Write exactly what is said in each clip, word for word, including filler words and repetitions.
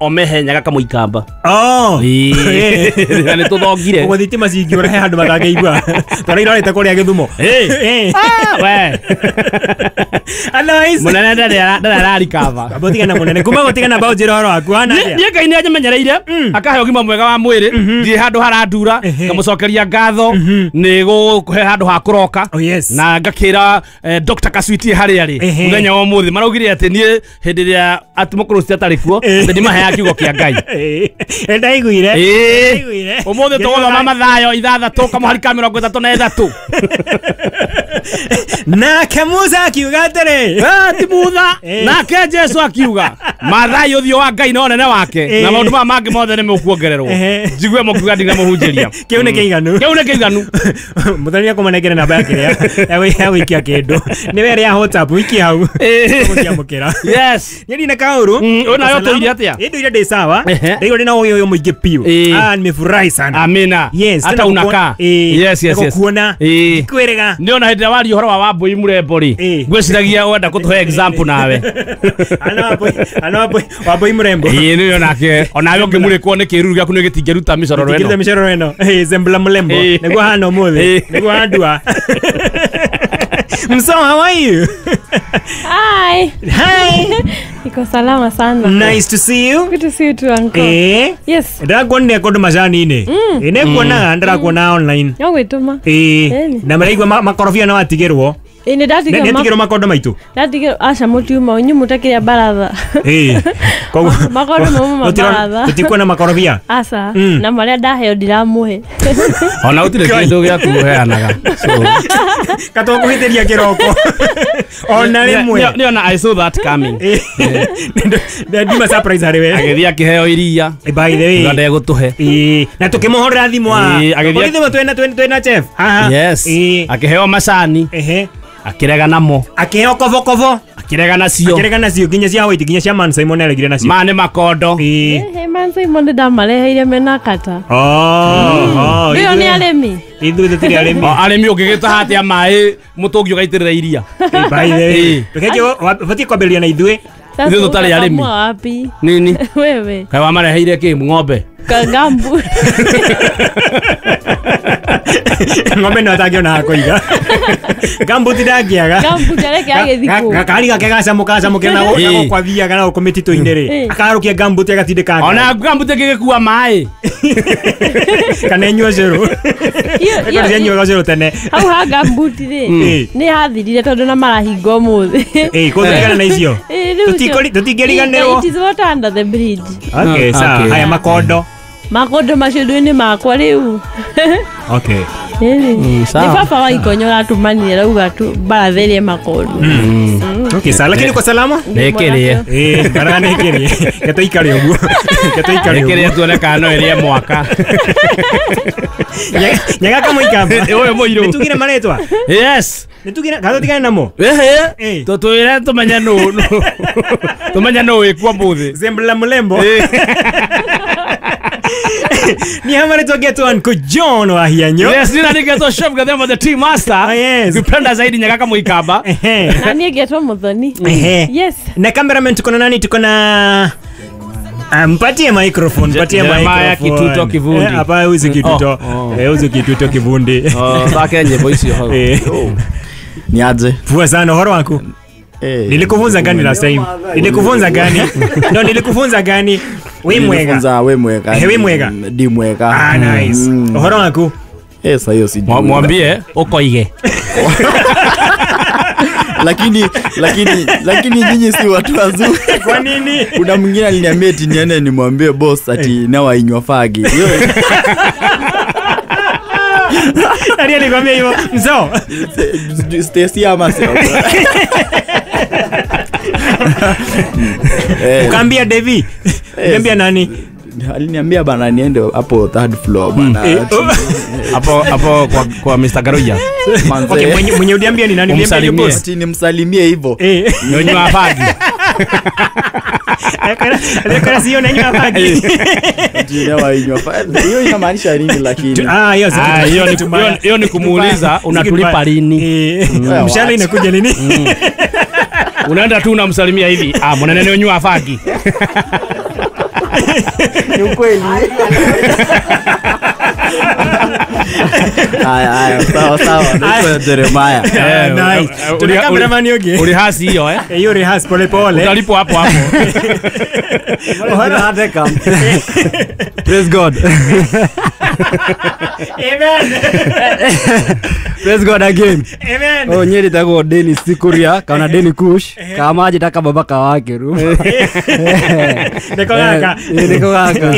Omehe Nyaga Muikamba. Oh. Ĩĩ. Nĩ tũthongire. Ũguo thitima cingĩũra he handũ matangĩigua. Twarĩirorĩte kũrĩa Gĩthumo. Ĩĩ. Ah, we. Otherwise Mũnene ndarĩ ndarĩ ararikaba. Amba ũtigane na mũnene. Kuma gũtigana mbaũ njĩra ũhoro waku hana atĩa? Niĩ Ngai nĩ anjimenyereire akahe ũgima mwega wa mwĩrĩ ndirĩ handũ harandura ngamũcokeria ngatho nĩ gũkũhe handũ ha kũroka. Oh, yes. Na ngakĩra eh, Doctor Kaswiti harĩa rĩ Ehe. mũthenya wa ũmũthĩ maraugire atĩ niĩ hĩndĩ ĩrĩa atĩ mũkũrũ ũcio atarĩ kuo atĩ ndimaheaga kiugo kĩa Ngai. Ĩĩ. Ndaiguire. Ĩĩ. Ndaiguire. Ũmũthĩ tũgũthoma Mathayo ithathatũ kamũhari ka mĩrongo ĩtatũ na ĩthatũ. Nake Musa akiuga atĩrĩ. Eh, ti Mutha. Ĩĩ. Nake Jesu akiuga Mathayo ũthiũ wa Ngai na ũnene wake Ĩĩ. na maũndũ maya mangĩ mothe nĩ mũkuongererwo. Ehe. Njigue mũkiuga ndinamũhunjĩria. Kĩu nĩ kĩiganu. Kĩu nĩ kĩiganu. Mũthoni akũmanengere namba yake ĩrĩa ya gũ- ya gũikia kĩndũ. Nĩ we ĩrĩa ya WhatsApp wikie hau. Ĩĩ. Tũgũciamũkĩra. Yes. Niĩ ndina kaũru. Mm, ũyũ nawe ũtũire atĩa? Ĩ ndũire ndĩ sawa. Ehe. Ndaigua ndĩna ũgĩ ũyũ mũingĩ biũ. Ĩĩ. Ah, nimefurahi sana. Amina. Yes, Hata tena unakaa. Ĩĩ. Yes, yes, yes. Kuona. Ĩĩ. Kwĩrĩga. Nĩ ona hĩndĩ ĩrĩa waria ũhoro wa Wambui Mũrembo rĩ Ĩĩ. ngwĩciragia wenda kũtũhe example nawe. Ana Wambui, ana Wambui, Wambui Mũrembo. Ĩĩ nĩ onake onawe ũngĩmũrĩkwo nĩ kĩruru gĩaku nĩ gĩtingĩruta mĩcororo Tikirita ĩno. mĩcororo ĩno. Ĩĩ, Zembla Mlembo. Ĩĩ. Nĩguo hana ũmũthĩ. Ĩĩ. Nĩguo handua. Mso, how are you? Hi. Hi. Niko salama sana. Nice to see you. Good to see you too, uncle. Ĩĩ. Yes. Ndĩrakuonire kũndũ macani-inĩ. Ĩĩ nĩkuonaga ndĩrakuona online. No gwĩtũma. Ĩĩ. Ĩni. Na maraigua ma- makorobia no watigĩrwo. Ĩĩ nĩ ndatigĩrwo Nĩ ma- atigĩrwo makondo maitũ. ndatigĩrwo aca mũtiuma inyuĩ mũtakĩrĩa baratha. Ĩĩ. Koguo Makondo mauma Tũtirona- mabaratha. tũtikuona makorobia. Aca Mm. na marĩa ndaheo ndiramũhe. Ona gũtirĩ kĩndũ gĩaku ũheanaga. So Katũkũhĩtĩria kĩroko. Ona rĩmwe. Nĩ ona I saw that coming. Ĩĩ. Ndima surprise harĩ we. Agĩthiĩ akĩheo iria. By the way. Uga ndegũtũhe. Ĩĩ. Na tũkĩmũhũrĩra thimũ haha. Ĩĩ, agĩthiĩ- Kũrĩ thimũ twĩna twĩna twĩna chef. Haha. Yes. Ĩĩ. Akĩheo macani. Ehe. Akĩrega namo. Akĩheo kobokobo. Akĩrega nacio. Akĩrega nacio nginya cia white nginya cia Man Simon aregire nacio. Ma nĩ makondo. Ĩĩ. Ehe Man Simon nĩ ndamareheire mena kata. Oh, oh. Rĩu nĩ arĩmi. Ithuĩ tũtirĩ arĩmi. O arĩmi ũngĩgĩtaha atĩa maĩ mũtũngi ũgaitĩrĩra iria. By the way. Ĩĩ. Reke ũbatiĩ kwambĩrĩria na ithuĩ. Sasa Ithuĩ tũtarĩ arĩmi. ũkakamua wapi? Nini? Wewe. Kaĩ wamareheire kĩ ng'ombe? Kagambu. Ng'ombe no atangĩona ha kũiga. Gambuti ndangĩaga. Gambuti areke agĩthiĩ kũ. Gakari gake gacamũka gacamũke na Ĩĩ. gũkũ athiaga na gũkũ mĩtitũ-inĩ rĩ. Ĩĩ. Akarũkia gambuti agatindĩka Ona gambuti ĩngĩgĩkua maĩ. Kana ĩnyue ũcũrũ. Iyo- Ĩkorwo iyo- cianyuaga ũcũrũ tene. Hau ha gambuti rĩ Ĩĩ. nĩ hathirire tondũ na marahinga ũmũthĩ. Ĩĩ, kũtigana na icio. Ĩĩ, rĩu ũcio- Tũtikũri- tũtingĩriganĩrwo. It is water under the bridge. Okay, sawa. Okay. Haya makondo. Makondo macio ndũ-inĩ makwa rĩu. Okay. Ĩĩ. Mm, sawa. Nĩ baba wa ikonyo ũratũmanire arauga tu baratha ĩrĩe makondo. Okay, sawa. Lakini uko salama? Nĩ ĩkĩrĩe. Ĩĩ, baratha nĩ ĩkĩrĩe. Reke tũikare ũguo. Reke tũikare ũguo. Ĩkĩrĩe tuone kana no ĩrĩe mwaka. Nyaga- Nyaga Kamũikamba. Ũyũ mũirũ. Nĩtugire marĩtwa? Yes. Nĩtugire kana tũtigane namo? Ehe. Ĩĩ. Tũtwĩre tũmenye nũ nũ- tũmenye nũ wĩkuo mũthĩ. Zembla Mlembo. Ni hama marĩtwa ngetwo Uncle John wa Hianyo. Yes, nina nĩngetwo Chef Gathemba the Tea Master. Oh, yes. Ukipenda zaidi Nyaga Kamũikamba. Ehe. Na niĩ ngetwo Muthoni. Ehe. Yes. Na cameraman tuko na nani? Tuko na Ah, mpatie microphone, mpatie Jeremiah microphone. Kituto Kivundi. Eh, hapa huyu Kituto. Oh, oh. Eh, huyu Kituto Kivundi. Oh, thake nyĩmbo icio hau. Eh. Ni aje? Fua sana uhoro waku. Eh. Nilikufunza gani last time? Nilikufunza gani? No, nilikufunza gani? We mwega. Nilifunza we mwega. Eh, we mwega. Ndi mwega. Ah, nice. Mm. Uhoro waku. Eh, sasa hiyo sijui. Mwa- Mwambie ukoige. Lakini lakini lakini nyinyi si watu wazuri. Kwa nini? Kuna mwingine aliniambia eti niende nimwambie boss ati nawa inywa fagi. Hiyo Nani alikwambia hivyo? Mzo. Stacy ama sio? Eh, Ukaambia Devi. Ukaambia nani? Aliniambia bana niende hapo third floor bana. Eh, oh. Hapo hapo kwa kwa Mister Garuja. Manze. Okay, mwenye mwenye uliambia ni nani? Uliambia ni Umsalimie. boss. Ati nimsalimie hivyo. Eh. Nyonywa fagi. Alikuwa sio nanywa fagi. Ati nawa inywa fagi. Hiyo inamaanisha nini lakini? Ah, hiyo si Ah, kitu- hiyo ni kitu mbaya. hiyo- hiyo ni kumuuliza unatulipa lini. Eh, mshahara inakuja lini? Unaenda tu unamsalimia hivi. Ah, mwanene nyonywa fagi. Ni ukweli. Haya haya sawa sawa naitwa Jeremiah. Nice. Tuna cameraman yogi. Ulihasi hiyo eh? Hiyo rehearse pole pole. Utalipo hapo hapo. Praise God. Amen. Praise God again. Amen. Oh nyeri tago Dennis Sikuria kana Dennis Kush kama aje taka baba kawake ru. Niko kaka. Niko kaka.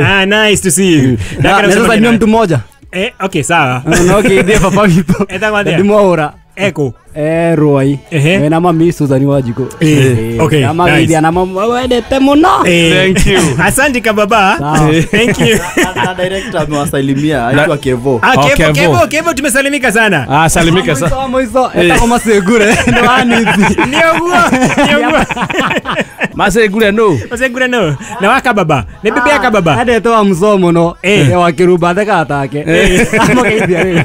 Ah nice to see you. Na sasa ni mtu mmoja. Eh okay sawa. No okay ndiye papa vipo. Ndimwaura. Eko. Eh Ruai. Eh na mami Susan Wajiko. Eh okay. Na mami na mama wendete muno. Thank you. Asante kababa. Thank you. Na director amewasalimia aitwa Kevo. Ah Kevo Kevo Kevo tumesalimika sana. Ah salimika sana. Moiso etako masegure ndo anizi. Nioguo. Nioguo. Masegure no. Masegure no. Na waka baba. Ni bibi yaka baba. Ade to msomo no. Eh wa kiruba theka atake. Amogeithia rĩu.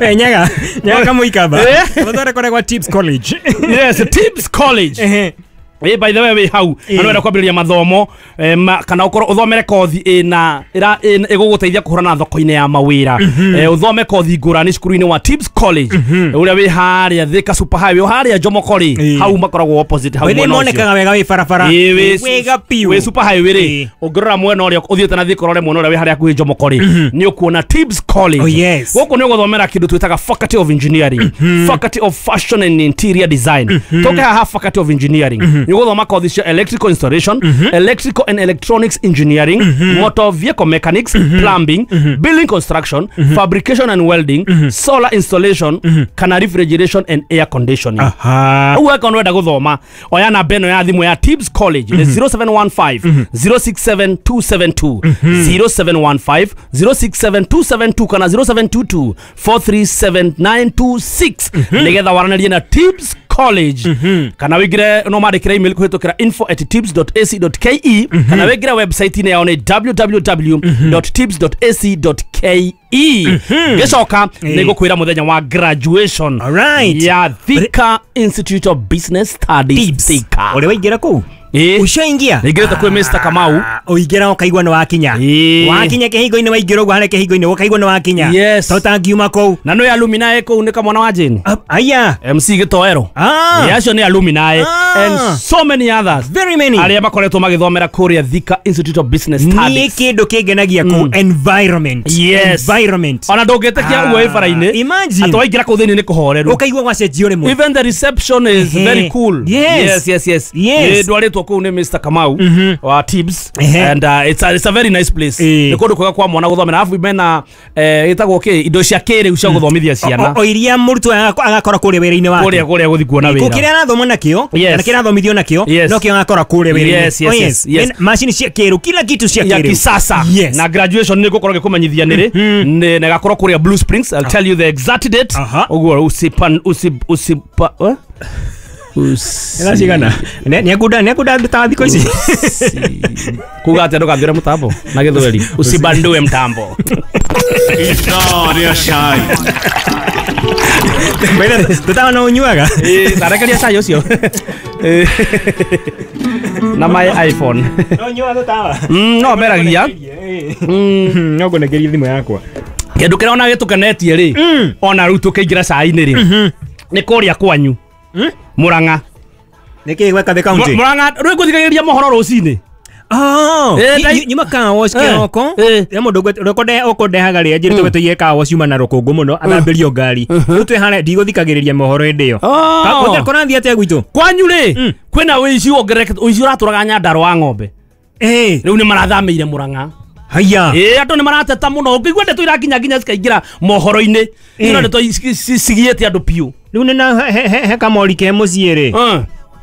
Eh nyaga nyaga muikaba. Mutore kore kwa Tips College. Yes, Tips College. Eh. Eh by the way we hau anwenda kwambĩrĩria mathomo kana ukorwo uthomere kothi ina ira iguguteithia kuhurana thoko-inĩ ya mawĩra uthome kothi ngũrani cukuru-inĩ wa Tips College uria wi haria Thika Super Highway haria Jomoko ri hau makoragwo opposite hau mwena monekaga wega wi barabara wega piu wi Super Highway ri ũngĩrora mwena ũrĩa ũthiĩte na Thika ũrore mwena ũrĩa wi haria hakuhĩ Jomoko ri nĩ ũkuona Tips College. Gũkũ nĩ ũgũthomera kĩndũ twĩtaga Faculty of Engineering, Faculty of Fashion and Interior Design. Toke haha Faculty of Engineering guthoma kothi cia electrical installation, mm -hmm. electrical and electronics engineering, mm -hmm. motor vehicle mechanics, mm -hmm. plumbing, mm -hmm. building construction, mm -hmm. fabrication and welding, mm -hmm. solar installation, mm -hmm. kana refrigeration and air conditioning. Aha. Uwe kono wenda guthoma oya namba ĩno ya thimũ ya Tips College ni zero seven one five zero six seven two seven two, zero seven one five zero six seven two seven two kana zero seven two two four three seven nine two six nigetha waranĩrie na Tips College. Mm -hmm. Kana wigire no mandikire email kuhitukira info at tips dot a c dot k e, mm -hmm. kana wigire website ine yao ni w w w dot tips dot a c dot k e. Gicoka nigukwira muthenya wa graduation. All right. Ya Thika Institute of Business Studies Thika. Uri waingira kuu? Eh. Ushaingia? Ningirite kwi Mister Kamau. Uingira ukaigua ni wakinya. Wakinya kihingo-ini waingira uguo haria kihingo-ini ukaigua ni wakinya. Yes. To tangiuma kuu. Na no alumni kuu ni kamwana wa Jane. Aya. M C Gitoero. Ah. Yeah, acio ni alumni ah. And so many others. Very many. Aria makoretwo magithomera kuria Thika Institute of Business Studies. Ni kindu kingenagia kuu environment. Yes. Environment. Ona ndungitikia uguo ibara-ini. Imagine. Atwa waingira kuu thiini ni kuhoreru. Ukaigua gwacenjio rimwe. Even the reception is very cool. Yes. Yes, yes, yes. Yes. Ndwaritwo kuu ni Mister Kamau mm -hmm. wa Tips. Uh -huh. And uh, it's a, it's a very nice place. Ni kundu kwega kwa mwana guthomera arafu mena eh gitagwo ki indo cia kiriu cia guthomithia ciana. O iria murutwo agakora kuria wira-ini wake. Kuria kuria guthi kuona wira. Kuria arathoma nakio kana kira athomithio nakio no kio agakora kuria wira-ini. Yes, yes, yes, yes. Machine cia kiriu kila kitu cia ya kiriu kisasa. Yes. Na graduation ni gukorwo gikumenyithia niri na gakorwo kuria Blue Springs. I'll tell you the exact date. Uguo usipan usip usipa eh? Ela cigana nĩ ngunda nĩ ngunda ta thikũ ici kuga atĩa ndũkanjĩre mũtambo na gĩthweri usibandue mtambo ithaa rĩa cai tũtawa no ũnyuaga ĩĩ tarekeria cai ũcio na my iPhone no ũnyuaga tũtawa no meragia no ngũnengerie thimũ yakwa kĩndũ kĩrĩa ona gĩtũkenetie rĩ ona rĩu tũkĩingĩra cai-inĩ rĩ nĩ kũrĩa kwanyu Murang'a niki gweka the county Murang'a rä ngå thikagä mohoro rå cinä Oh, nyuma car wash kiroko ya mundu ngwe ukundehaga ri njirite tuiye car wash yuma na rukungu muno athambirio ngari riu twi hare ndigũthikagĩrĩria mohoro hĩndĩ ĩyo ka kũrathiĩ atĩa gwitũ kwanyu rĩ kwĩna ũici wongererekete ũici ũratũraga Nyandarua wa ng'ombe eh rĩu nĩ marathamĩire Murang'a haya eh andũ nĩ marateta mũno ũngĩigua ndeto irakinya nginya cikaingĩra mohoro-inĩ ino ndeto cigiĩte andũ piũ rĩu nĩ na he kamori ke mũciĩ rĩ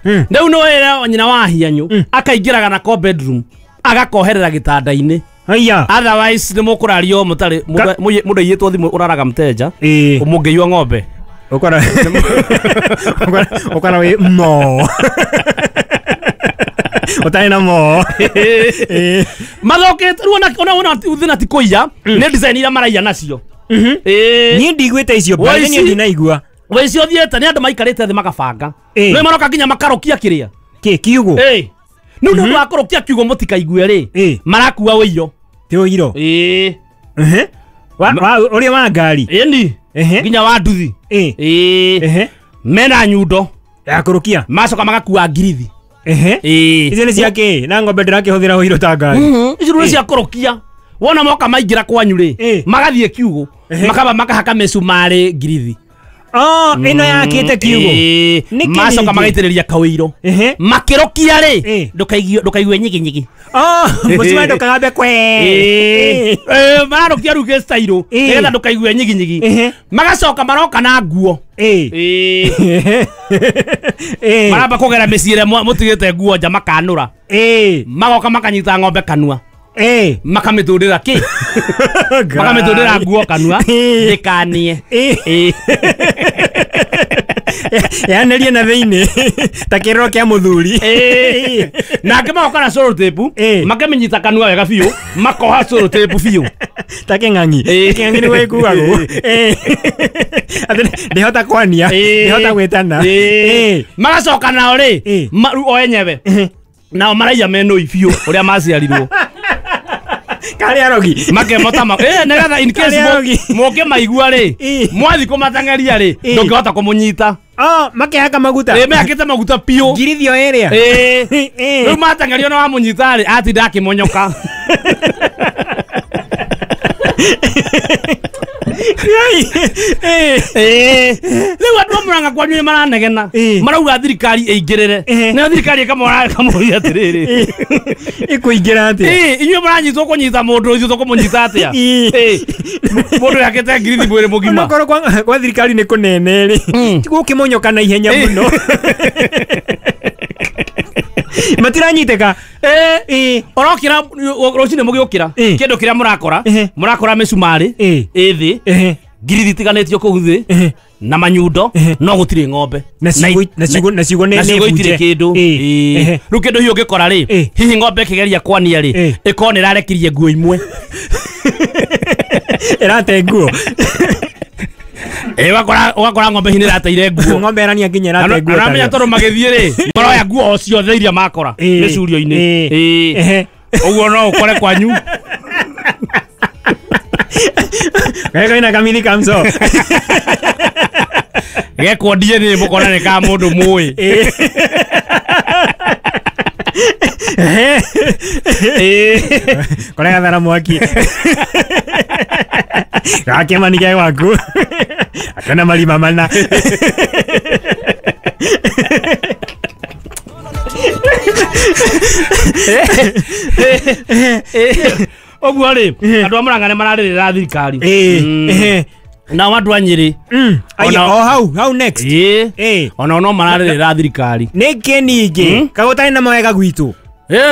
rĩu nĩ wĩra nyina wa hianyu akaingĩraga nako bedroom agakoherera gĩtanda-inĩ haya otherwise nĩ mũkũrario mũtarĩ mũndũ aiyĩtwo thimũ ũraraga mteja mũngĩiywo ng'ombe ũkora ũkora wĩ mo ũtarĩ na mo mathokete rĩu ona ona thĩna ti kũiya nĩ design iria maraiya nacio niĩ ndigwĩte icio mbathi niĩ ndinaigua wĩici ũthiĩte nĩ andũ maikarĩte thĩ makabanga nĩ maroka nginya makarokia kĩrĩa kĩ kiugo ĩ Nĩ ũndũ wa kũrũkia kiugo mũtikaigue rĩ marakua ũiro. Ti ũiro. Ĩĩ. Ehe. Wa ũrĩa wa ngari. Ĩni. Nginya wa nduthi. Ĩĩ. Mena nyundo. Ya kũrũkia. Macoka magakua ngirithi. Ehe. Ĩĩ. Icio nĩ cia kĩ? Na ng'ombe ndĩrakĩhũthĩra ũiro ta ngari. Icio nĩ cia kũrũkia. Wona moka maingĩra kwanyu rĩ magathiĩ kiugo makaba makahaka mĩcumarĩ ngirithi. Oh, ĩno yakĩte kiugo. Macoka magaitĩrĩria kawĩiro. Makĩrũkia rĩ ndũkaigue nyiginyigi. Oh, mũcumarĩ ndũkagambe kwe. Ĩĩ. Mararũkia rĩu gĩcitairũ nĩgetha ndũkaigue nyiginyigi. Magacoka maroka na nguo. Ĩĩ. Maramba kũgera mĩciĩ ĩrĩa mũtigĩte nguo nja makanũra. Magoka makanyita ng'ombe kanua. Eh, makamĩtũndĩra kĩ? Makamĩtũndĩra nguo kanua ndĩkanie. Eh. Yanerie na thĩinĩ ta kĩrĩro kĩa mũthuri. Eh. Nake magoka na cellotape makamĩnyita kanua wega biũ makoha cellotape biũ ta kĩng'ang'i. Kĩng'ang'i nĩguo gĩkuagwo. Eh. Atĩ ndĩhota kwania, ndĩhota gwĩtana. Eh. Magacoka nao rĩ o enyewe nao maraiya menũi biũ ũrĩa maciarirwo. Kari arogi makemota ma eh negatha in case moke maigua ri mwathi kumatangeria ri ndungihota kumunyita. Oh, makehaka maguta. Eh, mehakite maguta piũ ngirithio area. Eh, riu matangerio na wamunyita ri atinda akimonyoka. Eh, riu andu a Murang'a kwanyu nĩ maranegena marauga thirikari ĩingĩrĩre nayo thirikari ĩkamora ĩkamũria atĩrĩrĩ ĩkũingĩra atĩa? Ĩ inyuĩ mũranyitwo kũnyita mũndũ ithuĩ tũkũmũnyita atĩa? Ĩ mũndũ yakĩte ngirithi mwĩrĩ mũgima. Onokorwo kwa thirikari nĩ kũnene rĩ gũkĩmonyoka na ihenya mũno matiranyitĩka. Eh, orokira rũcinĩ mũgĩũkĩra kĩndũ kĩrĩa mũrakora mũrakora mĩcumarĩ ĩ thĩ ngirithi itiganĩtio kũu thĩ na manyundo no gũtirĩ ng'ombe na ciugo na ciugo na ciugo itirĩ kĩndũ. Rĩu kĩndũ hihi ũngĩkora rĩ hihi ng'ombe ĩkĩgeria kwania rĩ ĩkorwo nĩ ĩrarekirie nguo imwe ĩrate nguo. Eh, wakora wakora ng'ombe hihi nĩ ĩrateire nguo. Ng'ombe ĩrania nginya ĩrate nguo. Aramenya tondũ magĩthiĩ rĩ maroya nguo o ciothe iria makora mĩcurio-inĩ. Ĩĩ ũguo no ũkore kwanyu. Geka ina kamili kamso. Gekwo D N A mũkona nĩ ka mũndũ mũĩ. Ĩĩ. Kore gathara mwaki. Gakĩmani ge gwaku. Akena marima mana. Ũguo rĩ andũ a Murang'a nĩ mararĩrĩra thirikari. Nao andũ a Nyĩrĩ o hau hau next. Ĩĩ onao no mararĩrĩra thirikari. Nĩkĩ ningĩ kagũtarĩ na mawega gwitũ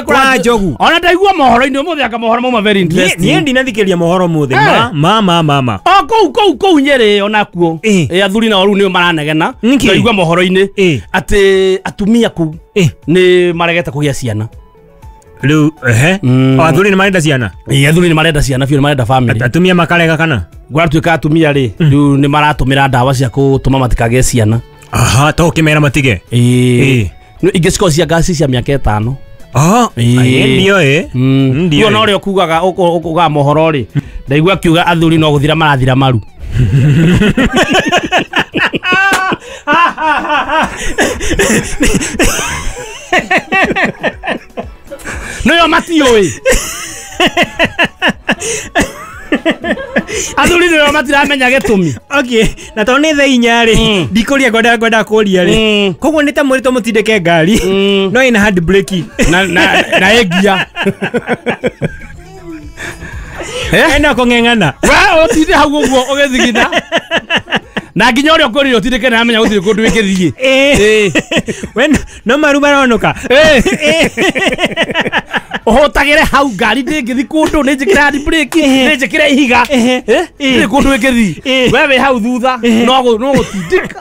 kwa njogu. Ona ndaigua mohoro-inĩ ũmũthĩ anga mohoro mauma very interesting. Niĩ ndinathikĩrĩria mohoro ũmũthĩ ma ma ma ma. O kũu kũu kũu Nyĩrĩ onakuo athuri nao rĩu nĩo maranegena. Ndaigua mohoro-inĩ atĩ atumia kũu nĩ maregete kũgĩa ciana. Rĩu ehe o athuri nĩ marenda ciana. Ĩĩ athuri nĩ marenda ciana biũ nĩ marenda family. Atumia makarega kana? Gwatuĩka atumia rĩ rĩu nĩ maratũmĩra ndawa cia kũtũma matikagĩe ciana. Aha to ũkĩmera matige. Ĩĩ ingĩ cikoragwo cia ngaci cia mĩaka ĩtano. Ah, ndio eh. Ndio no rĩo kugaga ukugaga mohoro rĩ ndaigua akiuga athuri no gũthira marathira maru. Nĩo matiũĩ. Athuri nĩo matiramenya gĩtũmi. Okay, na tondũ nĩ thaa inya rĩ ndikũria ngwendaga ngwendaga kũria rĩ koguo nĩ ta mwĩrĩtwo mũtindĩke ngari no ĩna hand brake na na na ĩngia. Ena kũng'eng'ana. We ũtinde hau ũguo ũgĩthigina. Na nginya ũrĩa ũkũrire ũtindĩke na amenya gũtirĩ kũndũ ĩngĩthiĩ. Ĩĩ. We no maru maronoka. Ũhũtagĩre hau ngari ndĩngĩthiĩ kũndũ nĩ njĩkĩre hand brake nĩ njĩkĩre ihiga ndĩrĩ kũndũ ĩngĩthiĩ. We wĩ hau thutha no gũtindĩka.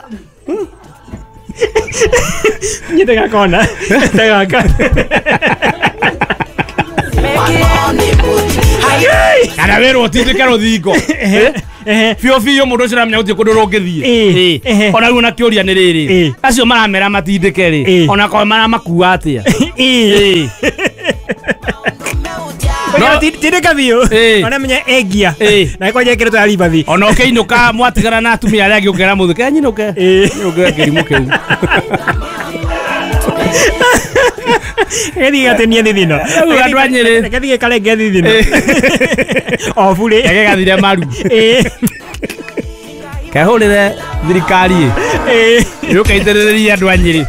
Nyite gakona. Tegaka. Kana wĩrwo ũtindĩke rũthingo. Biũ biũ mũndũ ũcio aramenya gũtirĩ kũndũ rũngĩthiĩ. Ĩĩ. Ona rĩu ona kĩũria nĩ rĩrĩ, Ĩĩ. acio maramera matindĩke rĩ, Ĩĩ. ona korwo maramakua atĩa? Ĩĩ. Ĩĩ. No No- tindĩka biũ. Ĩĩ. Ona menya engia. Ĩĩ. Na ĩkwanja ĩkĩrĩtwo ya ribathi. Ona ũkĩinũka mwatigana na atumia arĩa angĩ ũkera mũthĩ ke nyinũke Ĩĩ. nyinũke kĩrimũ kĩu. Gĩthiĩ gatenie thithino. Rĩu andũ a Nyĩrĩ. Gĩthiĩ karenge thithino. O burĩ. Reke gathire maru. Ĩĩ. Kehũrĩre thirikari Ĩĩ. ĩ yũke iterererie andũ a Nyĩrĩ.